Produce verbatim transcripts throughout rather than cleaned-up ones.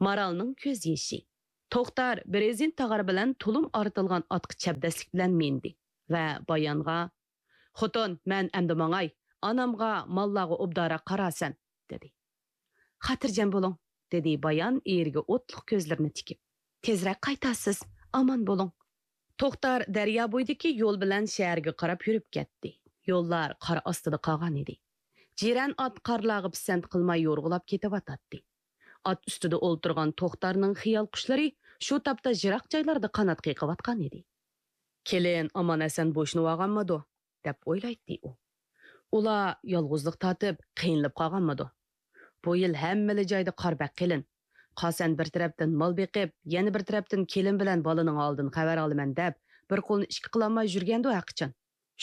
مارالنىڭ كۆز يېشى. توختار بىر رېزىن تاغار بىلەن تۇلۇم ئارتىلغان ئاتقا چەبدەسلىك بىلەن مىندى ۋە بايانغا، «خوتۇن، مەن ئەمدى ماڭاي، ئانامغا، ماللارغا ئوبدانراق قارارسەن» دېدى. «خاتىرجەم بولۇڭ» دېدى بايان ئېرىگە ئوتلۇق كۆزلىرىنى تىكىپ. «تېزرەك قايتارسىز، ئامان بولۇڭ.» توختار دەريا بويىدىكى يول بىلەن شەھەرگە قاراپ يۈرۈپ كەتتى. يوللار قار ئاستىدا قالغان ئىدى. جىرەن ئات قارلارغا پىسەنت قىلماي يورغىلاپ كېتىۋاتاتتى. ئات ئۈستىدە ئولتۇرغان توختارنىڭ خىيال قۇشلىرى شۇ تاپتا يىراق جايلاردا قانات قېقىۋاتقان ئىدى. «كېلىن ئامان-ئەسەن بوشىنىۋالغانمىدۇ؟» دەپ ئويلايتتى ئۇ. «ئۇلار يالغۇزلۇق تارتىپ، قىينىلىپ قالغانمىدۇ؟ بۇ يىل ھەممىلا جايدا قار بەك قېلىن. قاسەن بىر تەرەپتىن مال بېقىپ، يەنە بىر تەرەپتىن كېلىن بىلەن بالىنىڭ ھالىدىن خەۋەر ئالىمەن دەپ، بىر قولنى ئىككى قىلالماي يۈرگەندۇ ھەقىچان.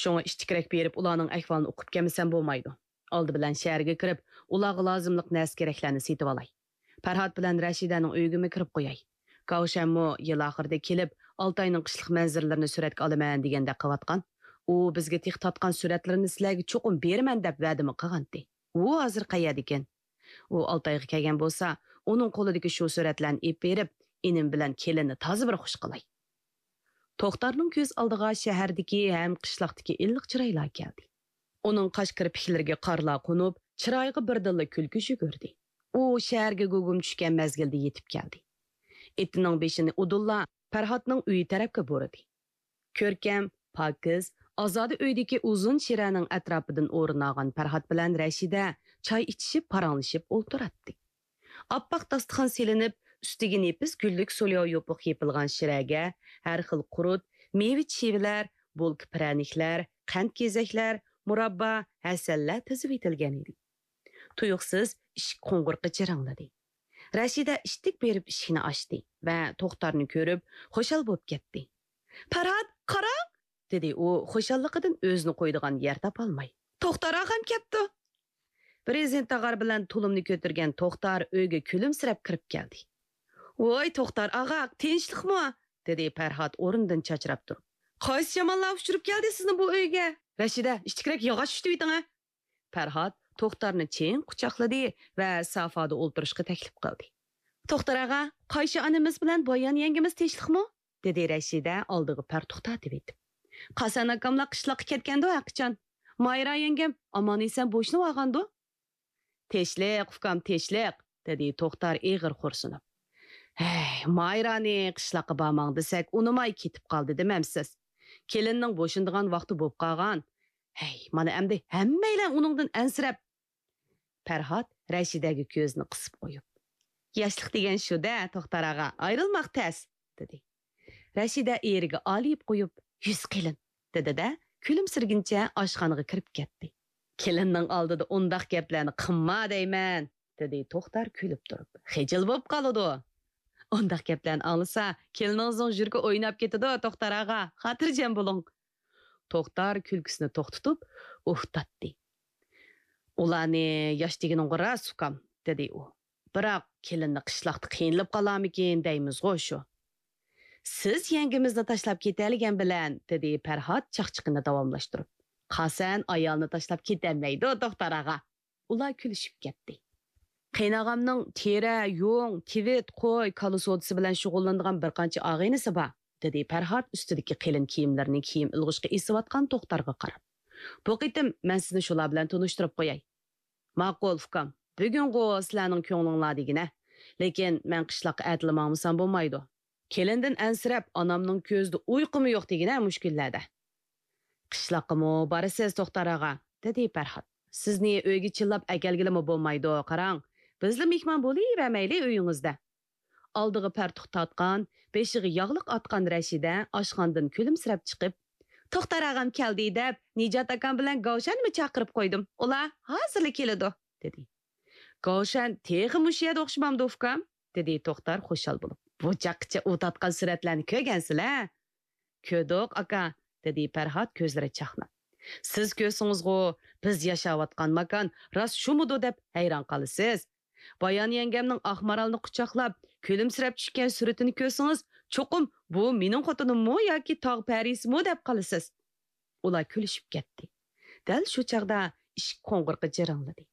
شۇڭا ئىتتىكرەك بېرىپ، ئۇلارنىڭ ئەھۋالىنى ئۇقۇپ كەلمىسەم بولمايدۇ. ئالدى بىلەن شەھەرگە كىرىپ، ئۇلارغا لازىملىق نەرسە-كېرەكلەرنى سېتىۋالاي. پەرھات بىلەن رەشىدەنىڭ ئۆيىگىمۇ كىرىپ قوياي. گاۋشەنمۇ يىل ئاخىرىدا كېلىپ، ئالتاينىڭ قىشلىق مەنزىرىلىرىنى سۈرەتكە ئالىمەن دېگەندەك قىلىۋاتقان. ئۇ بىزگە تېخى تارتقان سۈرەتلىرىنى سىلەرگە چوقۇم بېرىمەن دەپ ۋەدىمۇ قىلغانتى. ئۇ ھازىر قەيەردىكىن؟ ئۇ ئالتايغا كەلگەن بولسا، ئۇنىڭ قولىدىكى شۇ سۈرەتلەرنى ئېلىپ بېرىپ، ئىنىم بىلەن كېلىننى تازا بىر خۇش قىلاي.» توختارنىڭ كۆز ئالدىغا شەھەردىكى ھەم قىشلاقتىكى ئىللىق چىرايلار كەلدى. ئۇنىڭ قاش كىرپىكلىرىگە قارلار قونۇپ، چىرايىغا بىردىنلا كۈلكە يۈگۈردى. ئۇ شەھەرگە گۇگۇم چۈشكەن مەزگىلدە يېتىپ كەلدى. ئېتىنىڭ بېشىنى ئۇدۇللا پەرھاتنىڭ ئۆيى تەرەپكە بۇرىدى. كۆركەم، پاكىز، ئازادە ئۆيدىكى ئۇزۇن شىرەنىڭ ئەتراپىدىن ئورۇن ئالغان پەرھات بىلەن رەشىدە چاي ئىچىشىپ، پاراڭلىشىپ ئولتۇراتتى. ئاپئاق داستىخان سېلىنىپ، ئۈستىگە نېپىز گۈللۈك سولياۋ يوپۇق يېپىلغان شىرەگە ھەر خىل قۇرۇت، مېۋە-چىۋىلەر، بولكا پىرەنىكلەر، قەنت-گېزەكلەر، مۇراببا، ھەسەللەر تىزىۋېتىلگەن ئىدى. تۇيۇقسىز ئىشىك قوڭغۇرىقى جىرىڭلىدى. رەشىدە ئىتتىك بېرىپ ئىشىكنى ئاچتى ۋە توختارنى كۆرۈپ، خۇشال بولۇپ كەتتى. «پەرھات، قاراڭ!» دېدى ئۇ خۇشاللىقىدىن ئۆزىنى قويىدىغان يەر تاپالماي. «توختار ئاغام كەپتۇ!» بىر رېزىن تاغار بىلەن تۇلۇمنى كۆتۈرگەن توختار ئۆيگە كۈلۈمسىرەپ كىرىپ كەلدى. «ۋوي، توختار ئاغا، تىنچلىقمۇ؟» دېدى پەرھات ئورنىدىن چاچراپ تۇرۇپ. «قايسى شاماللار ئۇچۇرۇپ كەلدى سىزنى بۇ ئۆيگە؟ رەشىدە، ئىتتىكرەك ياغاچ چۈشتۈۋېتىڭە.» پەرھات توختارنى چىڭ قۇچاقلىدى ۋە سافادا ئولتۇرۇشقا تەكلىپ قىلدى. «توختار ئاغا، قايشى ئانىمىز بىلەن بايان يەڭگىمىز تىنچلىقمۇ؟» دېدى رەشىدە ئالدىغا پەرتۇق تارتىۋېتىپ. «قاسەن ئاكاملار قىشلاققا كەتكەندۇ ھەقىچان. مايرا يەڭگەم ئامان-ئېسەن بوشىنىۋالغاندۇ؟» «تىنچلىق، ئۇكام، تىنچلىق»، دېدى توختار ئېغىر خورسىنىپ. «ھەي، مايرانى قىشلاققا بارماڭ دېسەك، ئۇنىماي كېتىپ قالدى دېمەمسىز؟ كېلىننىڭ بوشىنىدىغان ۋاقتى بوپ قالغان. ھەي، مانا ئەمدى ھەممەيلەن ئۇنىڭدىن ئەنسىرەپ.» پەرھات رەشىدەگە كۆزىنى قىسىپ قويۇپ، «ياشلىق دېگەن شۇ-دە، توختار ئاغا، ئايرىلماق تەس» دېدى. رەشىدە ئېرىگە ئالىيىپ قويۇپ، «يۈز قېلىن» دېدى-دە، كۈلۈمسىرىگىنىچە ئاشخانىغا كىرىپ كەتتى. «كېلىننىڭ ئالدىدا ئۇنداق گەپلەرنى قىلما دەيمەن» دېدى توختار كۈلۈپ تۇرۇپ. «خىجىل بوپ قالىدۇ.» «ئۇنداق گەپلەرنى ئاڭلىسا، كېلىنىڭىزنىڭ يۈرىكى ئويناپ كېتىدۇ، توختار ئاغا، خاتىرجەم بولۇڭ.» توختار كۈلكىسىنى توختىتىپ، ئۇھ تارتتى. «ئۇلارنى ياش دېگىنىڭغۇ راست، ئۇكام» دېدى ئۇ. «بىراق، كېلىننى قىشلاقتا قىينىلىپ قالارمىكىن دەيمىزغۇ شۇ.» «سىز يەڭگىمىزنى تاشلاپ كېتەلىگەن بىلەن» دېدى پەرھات چاقچىقىنى داۋاملاشتۇرۇپ. «قاسەن ئايالنى تاشلاپ كېتەلمەيدۇ، توختار ئاغا.» ئۇلار كۈلۈشۈپ كەتتى. «قېيىنئاغامنىڭ تېرە، يۇڭ، تىۋىت، قوي، كالا سودىسى بىلەن شۇغۇللىنىدىغان بىر قانچە ئاغىنىسى بار» دېدى پەرھات ئۈستىدىكى قېلىن كىيىملىرىنى كىيىم ئىلغۇشقا ئېسىۋاتقان توختارغا قاراپ. «بۇ قېتىم مەن سىزنى شۇلار بىلەن تونۇشتۇرۇپ قوياي.» «ماقۇل، ئۇكام، بۈگۈنغۇ سىلەرنىڭ كۆڭلۈڭلار دېگىنە. لېكىن مەن قىشلاققا ئەتىلا ماڭمىسام بولمايدۇ. كېلىندىن ئەنسىرەپ، ئانامنىڭ كۆزىدە ئۇيقۇمۇ يوق دېگىنە مۇشۇ كۈنلەردە.» «قىشلاققىمۇ بارىسىز، توختار ئاغا» دېدى پەرھات. «سىزنى ئۆيگە چىللاپ ئەكەلگىلىمۇ بولمايدۇ، قاراڭ. بىزلا مېھمان بولۇۋەرمەيلى ئۆيىڭىزدە.» ئالدىغا پەرتۇق تارتقان، بېشىغا ياغلىق ئاتقان رەشىدە ئاشخانىدىن كۈلۈمسىرەپ چىقىپ، «توختار ئاغام كەلدى دەپ، نىجات ئاكام بىلەن گاۋشەننىمۇ چاقىرىپ قويدۇم. ئۇلار ھازىرلا كېلىدۇ» دېدى. «گاۋشەن تېخى مۇشۇ يەردە ئوخشىمامدۇ، ئۇكام؟» دېدى توختار خۇشال بولۇپ. «بۇ چاغقىچە ئۇ تارتقان سۈرەتلەرنى كۆرگەنسىلەر؟ كۆردۇق، ئاكا» دېدى پەرھات كۆزلىرى چاقناپ. «سىز كۆرسىڭىزغۇ، بىز ياشاۋاتقان ماكان راست شۇمىدۇ دەپ ھەيران قالىسىز. بايان يەڭگەمنىڭ ئاق مارالنى قۇچاقلاپ، كۈلۈمسىرەپ چۈشكەن سۈرىتىنى كۆرسىڭىز، چوقۇم بۇ مېنىڭ خوتۇنۇممۇ ياكى تاغ پەرىسىمۇ دەپ قالىسىز.» ئۇلار كۈلۈشۈپ كەتتى. دەل شۇ چاغدا ئىشىك قوڭغۇرىقى جىرىڭلىدى.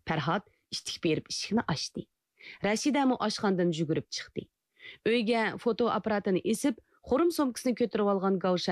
پەرھات ئىتتىك بېرىپ ئىشىكنى ئاچتى. رەشىدەمۇ ئاشخانىدىن يۈگۈرۈپ چىقتى. ئۆيگە فوتو ئاپپاراتىنى ئېسىپ، خۇرۇم سومكىسىنى كۆتۈرۈۋالغان گاۋشەن